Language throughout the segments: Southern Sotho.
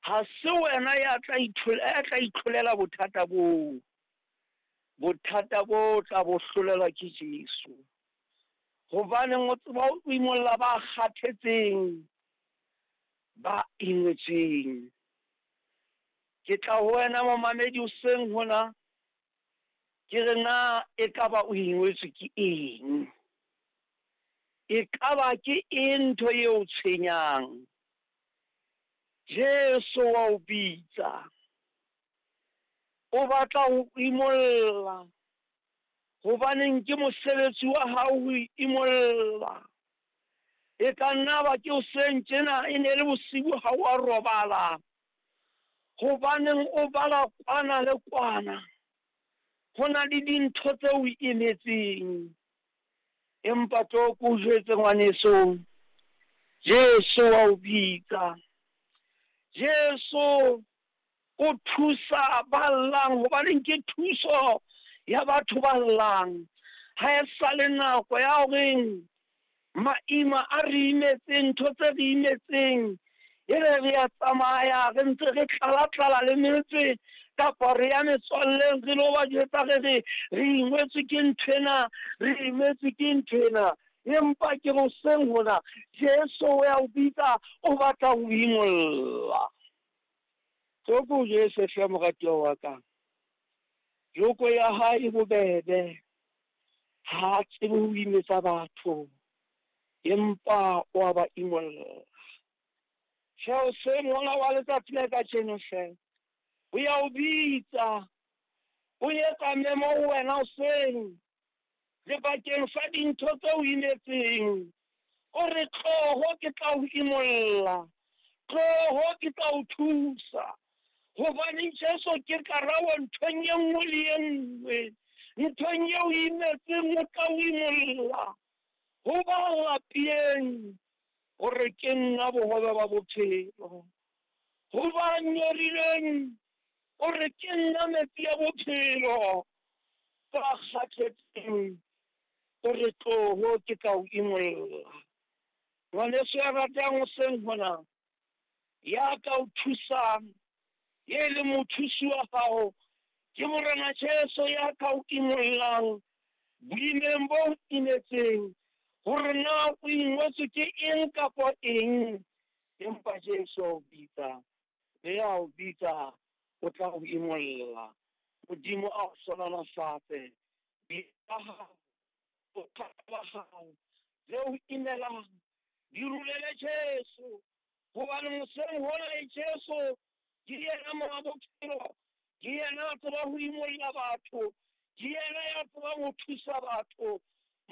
Ha se wena ya tla ya tla itlholela bothata boo. Bothata bo tla bo hlolelwa ke Jesu. Hobaneng o tseba ho imolla ba kgathetseng, ba ingwetsweng. Ke tla ho wena momamedi hoseng hona, ke re na ekaba o ingwetswe ke eng? Ekaba ke eng ntho eo tshwenyang? Jesu wa o bitsa. O batla ho imolla. Hobaneng ke mosebetsi wa hao ho imolla. E ka nna ba ke hoseng tjena e ne le bosibu ha wa robala. Hobaneng o bala kwana le kwana. Ho na le dintho tse o imetseng. Empa tlo ko jwetse ngwaneso. Jesu wa o bitsa. Jesu o thusa ba llang hobaneng ke thuso ya batho ba llang. Ha e sa le nako ya horeng maima a re imetseng, ntho tse re imetseng, e re re a tsamaya re ntse re tlala-tlala le metse kapa re ya metswalleng re lo ba jwetsa re re re ingwetswe ke nthwena, re imetswe ke nthwena. Empa ke hoseng hona Jesu o ya o bitsa, o batla ho imolla. Tlo ko Jesu hle moratuwa wa ka. Joko ya hae e bobebe. Ha a tsebe ho imetsa batho, empa o a ba imolla. Hle hoseng hona wa letsatsi la kajeno hle. O ya o bitsa. O etsa memo ho wena hoseng. Lebakeng sa dintho tse o imetseng. O re tloho ke tla o imolla. Tloho ke tla o thusa. Hobaneng Jesu ke karabo nthong e nngwe le e nngwe. Nthong eo imetseng o tla o imolla. Ho ba lapileng hore ke nna bohobe ba bophelo. Ho ba nyorilweng o re ke nna metsi a bophelo. Ba kgathetseng o re tloho ke tla o imolla. Ngwaneso ya ratang hoseng hona, ya ka o thusang, ye le mothusi wa hao, ke Morena Jesu ya ka o imollang boimeng bo imetseng, hore na o ingwetswe ke eng kapa eng, empa Jesu o bitsa, mme a o bitsa, o tla o imolla. Modimo a o hlohonolofatse. Ba hao, bothata ba hao, le o imelang, di rulele Jesu. Hobane moseng hona le Jesu ke yena monga bophelo, ke yena a tseba ho imolla batho, ke yena ya tsebang ho thusa batho.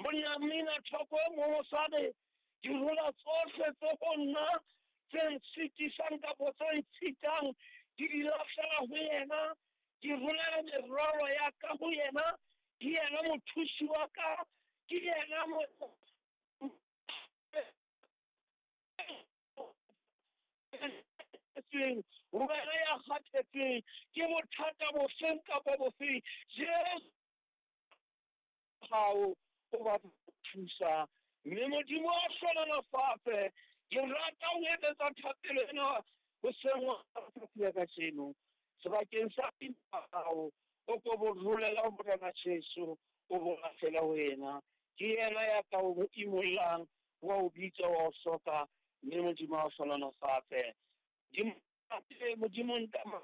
Monna mmina thoko e mong o sa re, ke rola tsohle tse ho nna tse ntshitisang kapa tse ntshitang, ke di lahlela ho yena, ke rolela merwalo ya ka ho yena, ke yena mothusi wa ka, ke yena wena ya kgathetseng ke bothata bofeng kapa bofeng, Jesu hao o batla ho thusa. Mme Modimo a hlohonolofatse. Ke rata ho etsetsa thapelo ena hoseng wa letsatsi la kajeno. Sebakeng sa hao o ko bo rolela ho Morena Jesu, o bo lahlela ho yena. Ke yena ya ka o imollang, wa o bitsa, wa o soka, mme Modimo a o hlohonolofatse. Modimo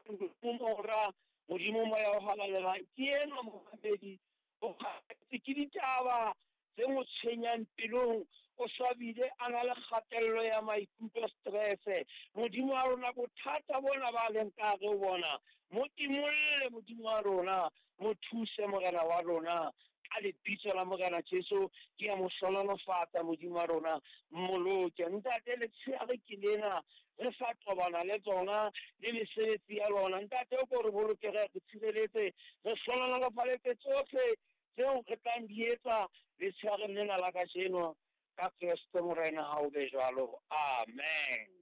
Modimo Mora, Modimo Moya o Halalelang, ke enwa momamedi, o kgathetse ke ditaba tse mo tshwenyang pelong, o sa bile a na le kgatello ya maikutlo, stress. Modimo wa rona, bothata bona ba leng ka hare ho bona, mo imolle Modimo wa rona, mo thuse Morena wa rona. Ka lebitso la Morena Jesu, ke a mo hlohonolofatsa Modimo wa rona, mmoloke. Ntate, letsheare ke lena, re sa tobana le tsona le mesebetsi ya lona. Ntate, o ko re boloke, re tshireletse, re hlohonolofaletse tsohle tseo re tlang di etsa letsheareng lena la kajeno. Ka Kreste Morena ha o be jwalo. Amen.